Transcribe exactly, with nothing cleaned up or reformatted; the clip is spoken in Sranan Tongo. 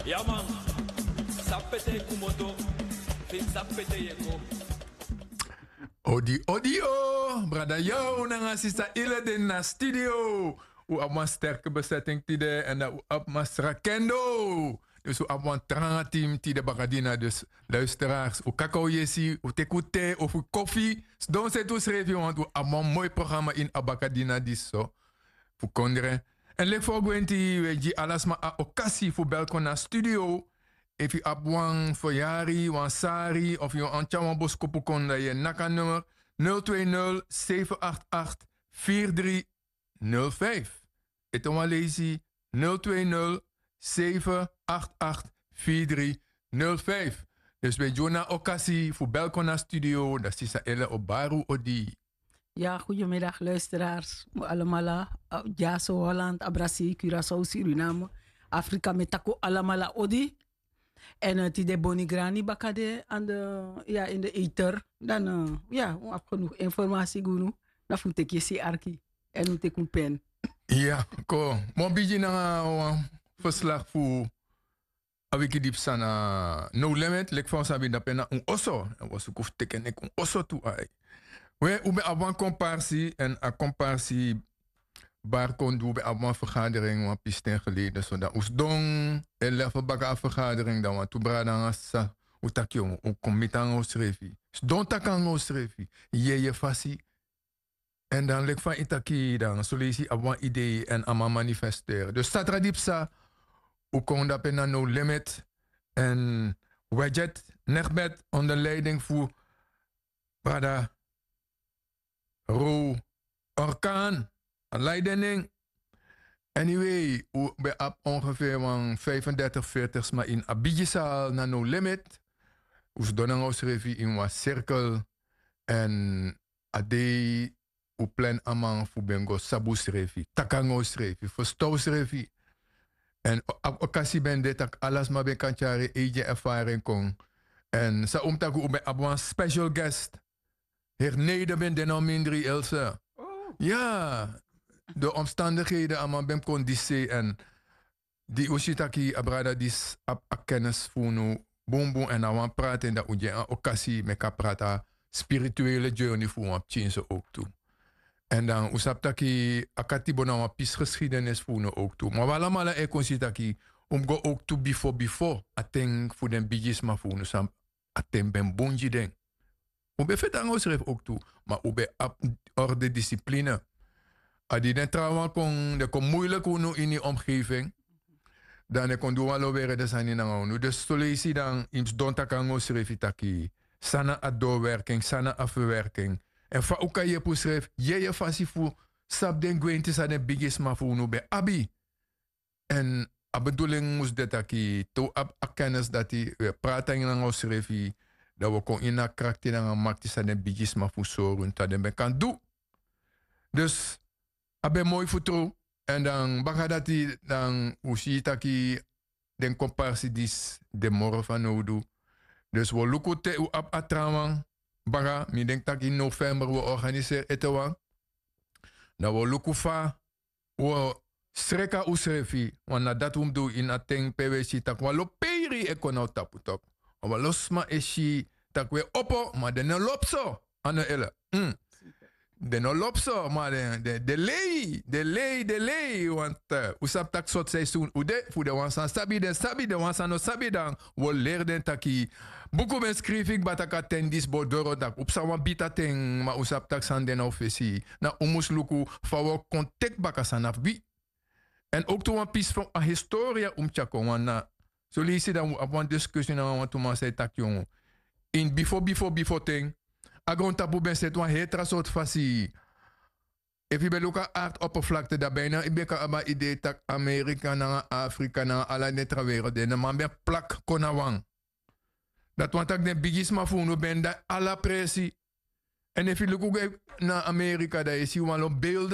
Ya man, sabi pe te yu komoto, fu yu sabi pe te yu e go. Odi odi o, brada Yaw nanga sisa Ile de na studio. Un abi wan sterke besetting tide èn dan un abi masra Kendo. Dus un abi wan tranga team tide bakadina. Dus luisteraars, un kaka un yesi, un teki un te of un kofi. Sidon seti unsrefi, want un abi wan moi programma ini a bakadina disi so fu kondre. Èn leki fa un gwenti, un e gi ala sma a okasi fu bel kon na studio. Efu yu abi wan feryari, wan sari of yu wani tyari wan boskopu kon, dan yu e naki a nummer nul twee nul zeven acht acht vier drie nul vijf. Ete wan leisi, nul twee nul zeven acht acht vier drie nul vijf. Dus un e gi unu a okasi fu bel kon na studio, dan sisa Ile o bari un odi. Ya, goedemiddag luisteraars. Un alamala, eh, Dyaso, Holland, Abrasi, Curaçao, Suriname, Afrika, mi e taki un alamala odi. Èn, eh, tide Boni Grani baka de aan de, ya, in de ether. Dan, eh, ya, un abi genoeg informatie gi unu. Dan fu un teki yesi arki. Èn un teki un pen. Ya, kon. Mi o bigin nanga wan verslag fu a wiki di psa na No Limit, leki fa un sabi, dape na un oso. Èn wi o suku fu teki en leki un oso tu, ai. We, un ben abi wan komparsi, èn a komparsi bari kon du, un ben abi wan vergadering wan pisten geleden. So dan un sidon e level baka a vergadering, dan wantu brada nanga sisa, un taki, un kon miti nanga unsrefi. Sidon taki nanga unsrefi. Yeye fasi. Èn dan leki fa yu taki, dan son leisi yu abi wan idee èn a man manifesteren. Dus satra di psa, un kon dape na No Limit. Èn Wedjet Negbet onder leiding fu brada Ro Orkan, a leiding. Anyway, un ben abi ongeveer wan vijfendertig, veertig sma ini a bigi zaal na No Limit. Un sidon nanga unsrefi ini wan cirkel. Èn a dei un plan a man fu ben go sabi unsrefi, taki nanga unsrefi, ferstan unsrefi. Èn a okasi ben de taki ala sma ben kan tyari en eigi ervaring kon. Èn san un mus taki, un ben abi wan special guest. Heri Nede ben de na un mindri, Ilse. Ya, de omstandigheden, a man ben kon disi sei. Èn di un si taki a brada disi abi a kennis fu unu bunbun èn a wani prati en, dan un gi en a okasi meki a prati a spirituele journey fu wan pikinso owktu. Èn dan un sabi taki a katibo na wan pisi geschiedenis fu unu owktu. Ma wi alamala e kon si taki un mus go owktu bifo bifo a ten fu den bigisma fu unu san a ten ben bun gi den. Un ben feti nanga unsrefi owktu, ma un ben abi orde, discipline. A di den trawan kon, den kon muiliki unu ini yu omgeving, dan den kon du wan lo weri den sani nanga unu. Dus son leisi dan yu mus sidon taki nanga unsrefi taki san na a doorwerking, san na a verwerking. Èn fa un kan yepi unsrefi, yeye fasi fu sabi den gwenti san den bigisma fu unu ben abi. Èn a bedoeling mus de taki te un abi a kennis dati, un e prati nanga unsrefi, dan un o kon ini a krakti nanga makti san den bigisma fu un sori unu taki den ben kan du. Dus a ben moi fu tru. Èn dan baka dati dan un si taki den komparsi disi de moro fanowdu. Dus un o luku te un abi a trawan baka, mi denki taki ini november un o organiseri ete wan. Dan un o luku fa un o sreka unsrefi, want na dati un mus du ini a ten pe un e si taki wan lo peiri e kon na un tapu toku. Wan lo sma e si taki un e opo, ma den no lobi so. A no ere. Den no lobi so, ma den, den, den lei, den lei, den lei, want, eh, un sabi taki sortu seisun un de, fu den wan san sabi, den sabi, den wan san no sabi, dan un o leri den taki buku ben skrifi kba taki a ten disi bo doro, dan un psa wan bita ten, ma un sabi taki sani de na un fesi. Na un mus luku fa un o kon teki baka san na fu wi. Èn owktu wan pisi fu a historia un mus tyari kon, want na son leisi dan un abi wan diskusi nanga wantu man san e taki, yongu, ini bifo bifo bifo ten, a grontapu ben seti wan heri tra sortu fasi. Efu yu ben luku a arti oppervlakte, dan bina yu ben kan abi a idee taki Amerika nanga Afrika nanga ala den tra wereld, den man ben plak kon na wan. Dati wani taki den bigisma fu unu ben de ala presi. Èn efu yu luku go na Amerika, dan yu e si wan lo beelden.